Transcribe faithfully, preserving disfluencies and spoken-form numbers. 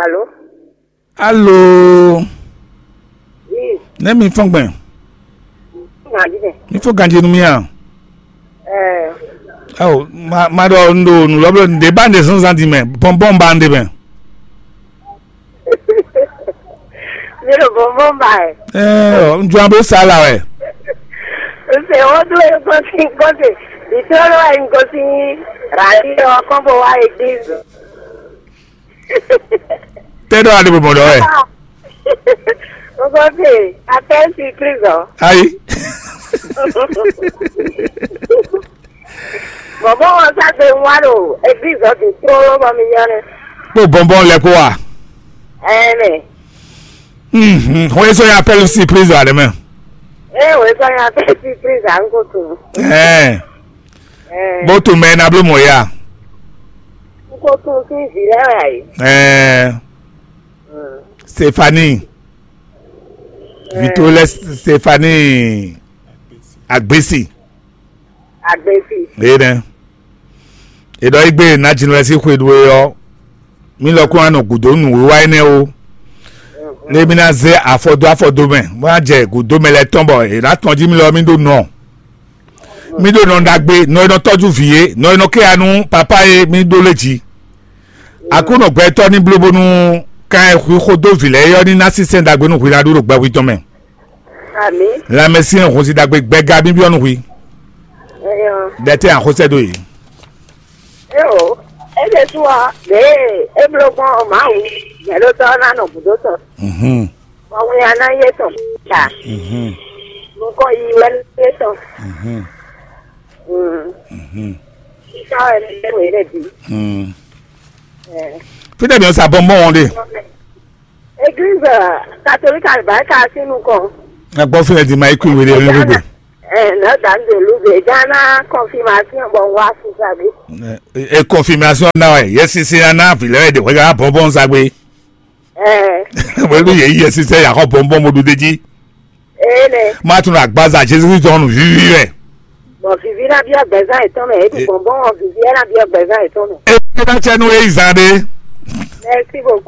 Alo. Alo. Oui. Ne mi fɔn gbɛn. Nadi bɛ. Mi fɔn ganji nu mi a? Eh. Awo, ma ma ɖɔ n ɖo nu lɔbɔ n ɖe ba n ɖe zɔnzan di mɛ bɔnbɔn ba n ɖe mɛ. Mi ɖo bɔnbɔn ba ɛ. Eh, n jɔ bɛ sa la wɛ. N se wo do e kɔsi kɔsi. Di tro lo e n kɔsi. Rali o kɔn bo wa église. Tɛ ɖɔ a ɖe bɔbɔ ɖɔ wɛ. Ogofe, appel surprise ɔ. Ayi. Bɔbɔ ɔ sa gbe wa ɖo église ɔ bi trolo bɔ mi yɔ nɛ. Kpó bɔnbɔn lɛ kó wa. Ɛɛ mɛ. Mhm. Xɔ yé sɔ yɛ appel surprise wa ɖe mɛ. Ee, wòye sɔ yɛ appel surprise à ń kó tún. Ɛɛ. Ɛɛ. Bó tún mɛ na bló mɔ ya. N kó tún sí ìdí lẹ́wà yìí. Ɛɛ. Stefani. Vitolɛ Stefani Agbesi. Agbesi. Ee nɛ. Edɔ igbe na jinlɛ si xwe ɖu e ɔ. Mi lɔ kún anɔ gǔdo nǔwiwa énɛ́ ó. Lé mi ná zé afɔ dó afɔ dó mɛ, bó ná jɛ gǔdo mɛ lɛ́ɛ tɔn bɔ è nǎ tɔn jí mi lɔ mi ɖó nɔ. Mi ɖó nɔ ɖagbe, nɔ e nɔ tɔ́jú vǐ é, nɔ e nɔ ké ya nú papá é, mi ɖó lé jí. Aklúnɔ gbɛtɔ́ ní bló bónú kan e hwi xó dó vǐ lɛ́ɛ é ɔ́ ní ná sínsɛ́n ɖagbe nú hwi ná ɖu ɖo gbɛhwi tɔn mɛ. Amǐ. Lanmɛsyɛn hɔnsi ɖagbe gbɛga bíbí ɔ́ nú hwi. Ɛyɔ. Ɖɛtɛ́ axɔ́sɛ́ ɖó yě. Éo, é ɖésú ɔ́, ɖěe é bló gbɔn ɔ́, Mawu, nyɛ̌ɖótɔ́ ɔ́ ná nɔ gǔdo tɔn. Mhm. Bɔ winnyá ná yé tɔn ta. Mhm. Nukɔn yi wɛ ná yé tɔn. Mhm. Mm. Mhm. Sísá wɛ ní lé wě lɛ bǐ. Mm. Ɛ. Fítɛ́ mi ɔ́ sa bɔnbɔn ɔ́ ɖe. Église catholique àlùbáríkà sí nukɔn. Ẹ gbọ́ fún ẹ di máa ikú ìwé rẹ ní gbogbo. Ẹ náà dá ń dè lúbe Ghana confirmation bọ̀ wá fún sàbí. Ẹ confirmation náà ẹ yẹ sisi aná àfilẹ́ ẹ̀ dẹ̀ wẹ́gà bọ́bọ́n sagbe. Ẹ. Wẹ́lú yẹ yẹ sisi ẹ̀ yà kọ́ bọ́bọ́n mo dúdé jí. Ẹ nẹ. Má tún àgbáza Jésù Kristu ọ̀nù yíyí rẹ̀. Bọ̀ vivi náà bí ọgbẹ́sán ìtọ́ mẹ́, èyí ti bọ̀nbọ́n wọn vivi ẹ̀ náà bí ọgbẹ́sán ìtọ́ mẹ́. Ẹ ẹ bá tẹnu ẹ ìzàdé. Merci beaucoup.